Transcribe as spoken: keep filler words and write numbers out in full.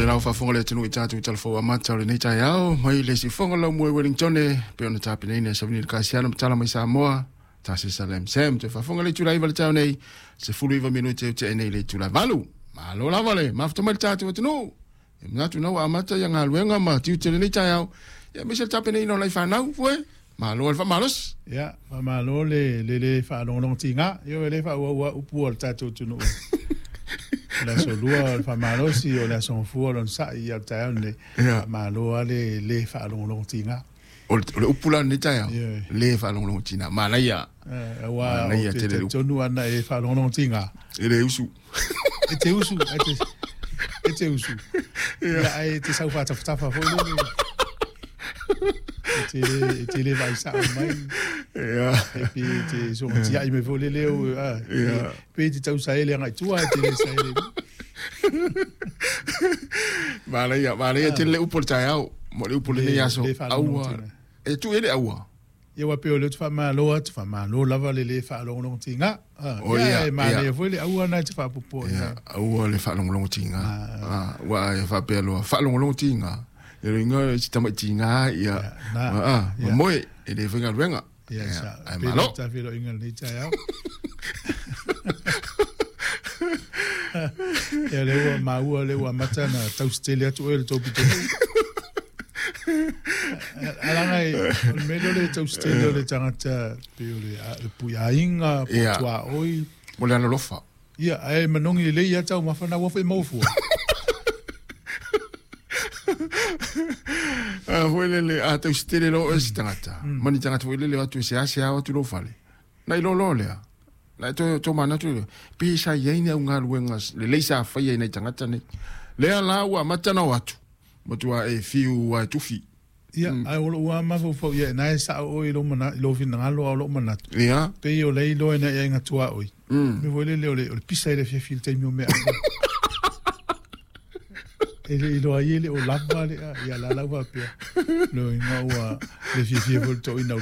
le lau faafofoga le atunuu i tatou talafou amata o lenei taeao mai le siufofoga o Laumua i Wellington pe ona tapenaina e Savini le Kasiano ma tala mai Samoa tasi Salem Sam te faafofoga le itula iva le taeao nei sefulu iva minute e tea nei le itula valu. Malo lava le mafuta mai le tatou atunuu e manatu na ua amata ia galuega ma tiute lenei taeao ia aemaise le tapenaina o lai fanau foe. Malo le faamalosi. Ia, faamalo le le le faalogologotiga. Ioe le faaauau upu o le tatou atunuu. O le aso lua o le faamalosi, o le aso gafua o le onosai ia o le taeao lenei. Faamalo lava le le faalogologotiga. O le upu la lenei taeao, le faalogologotiga. Manaia. Aua ou te talitonu ana e faalogologotiga. E le usu. E te usu, e te, e te usu. Ia, ae e te sau faatafatafa foi lele. E te le, e te le vaai sao mai. Ia. E pe e te soga tiai mai foi lele au, a, Ia. pe e te tau saele agai tua, e te le saele. Manaia, manaia tele le upu o le taeao, mo le upu o lenei aso. Le Aua. faalogologotiga. E tuu i ai le aua. Ia ua pei o lea ou te faamalo atu, faamalo lava le le faalogologotiga. O Ia, ia, e manaia ia. foi le aua na e te faapopoa i Ia, ai. aua le faalogologotiga. Ah, ua e faapea loa, faalogologotiga. Ia le igoa si tamaitiga, ia. Ia, na. Ah, Ia. moe, e le faigaluega. Ia, Ia, sa. ai Pe malo. le tafeloiga lenei taeao. Ia, lea ua maua, lea ua amata na tausitele atu oe i le tou pitonuu. Alaga e, o le mea lea o le tausitele o le tagata pei o le, a- le puiaiga, po o Ia. tuaoi. Mo le alolofa. Ia, ae manogi lelei ia taumafa na ua foi maua fua. Ah, foi lele, a tausitele loa oe si tagata. Ma ni tagata foi lele o atu e seasea o atu lou fale. Na i loa lea. Na to to manatu lea. Pe sa i ai ni au galuega lelei sa faia i nai tagata nei. Lea la ua amata na o atu. Matua e fiu a e tufi. Ia, ae o lou lava mafaufau ia, na e sao oe i lou mana- i lou finagalo a o lou manatu. Ia. Pei o le iloa ina ia iga tuaoi. Mm. Mea foi lele o le, o le pisa i le afiafi i le taimi o mea ai. E le iloa ai e le o lava le a, ia la lau faapea. Lo inga ua le fiafia foi le toina o